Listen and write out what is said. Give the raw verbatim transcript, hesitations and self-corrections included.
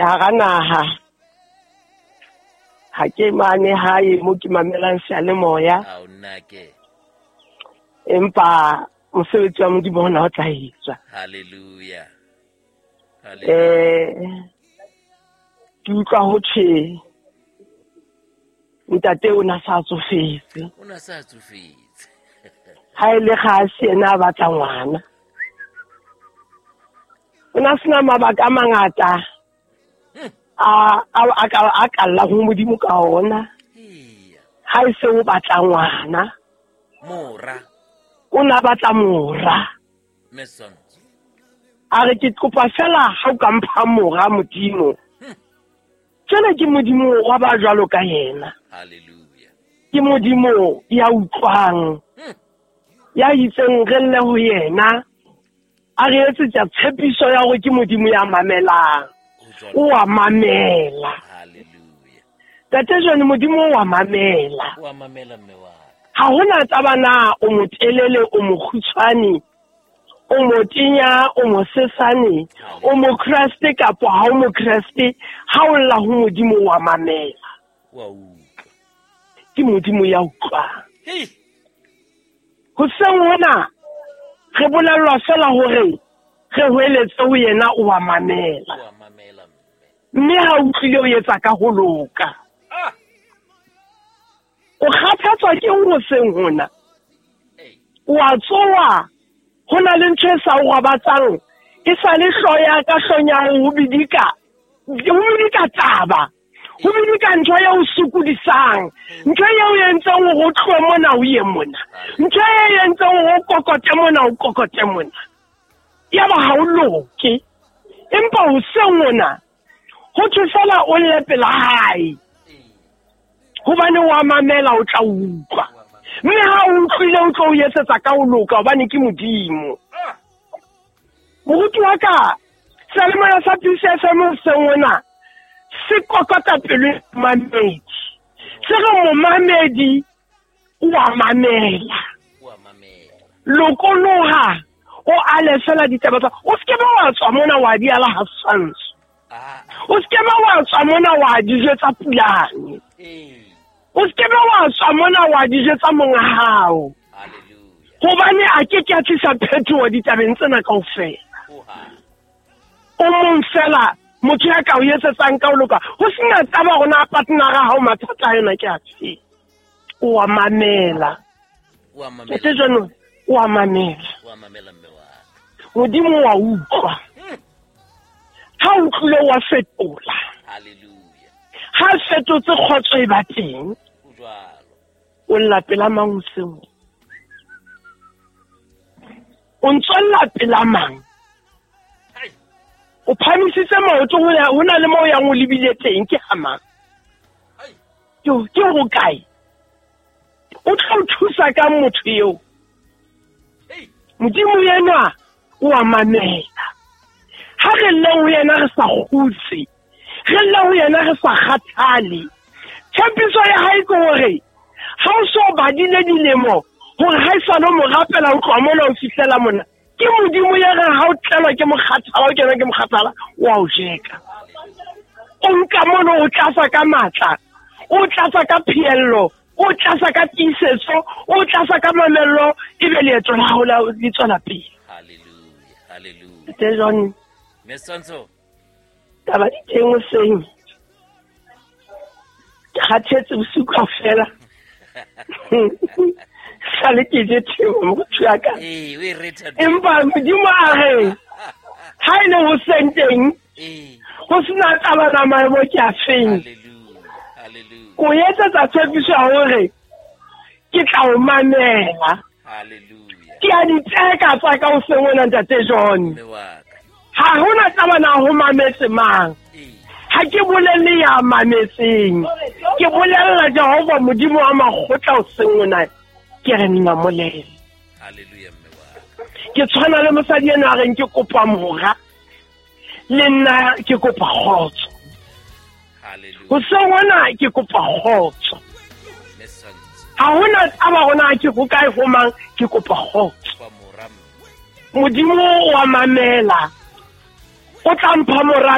Ke hara naha. Ha ke mane hae mo ke mamelang seyalemoya. Ao nnake. Empa mosebetsi wa Modimo ona o tla etswa. Hallelujah. Eh ke utlwa ho tjhe ntate o na sa tsofetse. O na sa tsofetse. Ha ile ga se yena a batla ngwana. O na sena mabaka a mangata a a a a kalla ho Modimo ka ona. Ha e se o batla ngwana. Mora. O na batla mora. Meson. A re ke kopa fela ha o ka mpha mora Modimo. Tsena ke Modimo wa ba jwalo ka yena. Hallelujah. Ke Modimo ya utlwang. Ya itseng re lle ho yena. A re etsetsa tshepiso ya hore ke Modimo ya mamelang. O a mamela. Hallelujah. Tate jone Modimo o a mamela. O a mamela mme wa. Ha hona taba na o motelele o mokgutshwane, o motinya o mosesane, o mokreste kapa ha o mokreste, ha o lla ho Modimo wa mamela. Wa utlwa. Ke Modimo ya utlwang. Hei. Hoseng hona re bolellwa fela hore re hweletse ho yena o wa mamela. O wa mamela mme. Mme ha o utlwile o etsa ka ho loka. Ah. O kgathatswa ke eng hoseng hona? O a tsoha, ho na le ntho e sa o robatsang, e sa le hloya ka hlonyang ho bidika, ho bidika taba, ho bidika ntho e o sokodisang, ntho e o entseng hore o tlohe mona o ye mona, ntho e entseng hore o kokote mona o kokote mona. Yaba ha o loke. Empa hoseng hona, ho thwe fela o lle pela hae. Hobane wa mamela o tla utlwa. Mme ha o utlwile o tlo o etsetsa ka ho loka hobane ke Modimo. Moruti wa ka, seyalemoya sa P C F M hoseng hona se kokota pelo ya momamedi. Se re momamedi o a mamela. O a mamela. Lokoloha o ale fela ditaba tsa. O se ke ba wa tswa mona wa di ala ha Swantsho. O se ke ba wa tswa mona wa di jetsa Pulane. O se ke ba wa tswa mona wa di jetsa monga hao. Hallelujah. Hobane a ke ke a tlisa phetoho ditabeng tsena kaofela. O mong fela motho ya ka o etsetsang ka ho loka. Ho sena taba rona partnera hao mathata a yona ke a fe. O a mamela. O a mamela. Ke jeno o a mamela. O a mamela mme wa. Modimo wa utlwa. Ha o utlwile wa fetola. Hallelujah. Ha fetotse kgotso e ba teng. O jwalo. O lla pela mang hoseng? O ntso lla pela mang? O phamisitse maoto ho ya ho na le moo yang o lebile teng ke ha mang? Ke ke ho kae? O tla o thusa ka motho eo. Modimo yena o a mamela. Ha re lle ho yena re sa kgutse, re lle ho yena re sa kgathale. Tshepiso ya hae ke hore ha o so badile dilemo hore ha e sa no mo rapela o tloha mona o fihlela mona. Ke Modimo ya re ha o tlelwa ke mokgathala o kenwa ke mokgathala wa o jeka. O nka mono o tlatsa ka matla, o tlatsa ka phiello, o tlatsa ka tiisetso, o tlatsa ka mamello, ebe leeto la hao le tswela pele. Hallelujah, hallelujah. Te jone. Mesonso. Taba di teng hoseng. Ke kgathetse bosiu kaofela. Sale ke je theo motho ya ka. Eh, o e retha. Empa Modimo a re ha ile hoseng teng. Eh. Ho sena taba na maemo ke a feng. Hallelujah. Hallelujah. Ko etsetsa tshepiso ya hore ke tla o mamela. Hallelujah. Ke a di tseka tsa ka hoseng hona ntate John. Mme wa ka. Ha hona taba na ho mametse mang. Eh. Ha ke bolelle ya mametseng. Ke bolella Jehova Modimo wa makgotla hoseng hona. Ke re nna molele. Hallelujah mme wa ka. Ke tshwana le mosadi ena a reng ke kopa mora. Le nna ke kopa kgotso. Hallelujah. Hoseng hona ke kopa kgotso. Mesonso. Ha hona taba hona ke ho kae ho mang ke kopa kgotso. Kopa mora mme. Modimo wa mamela. O tla mpha mora.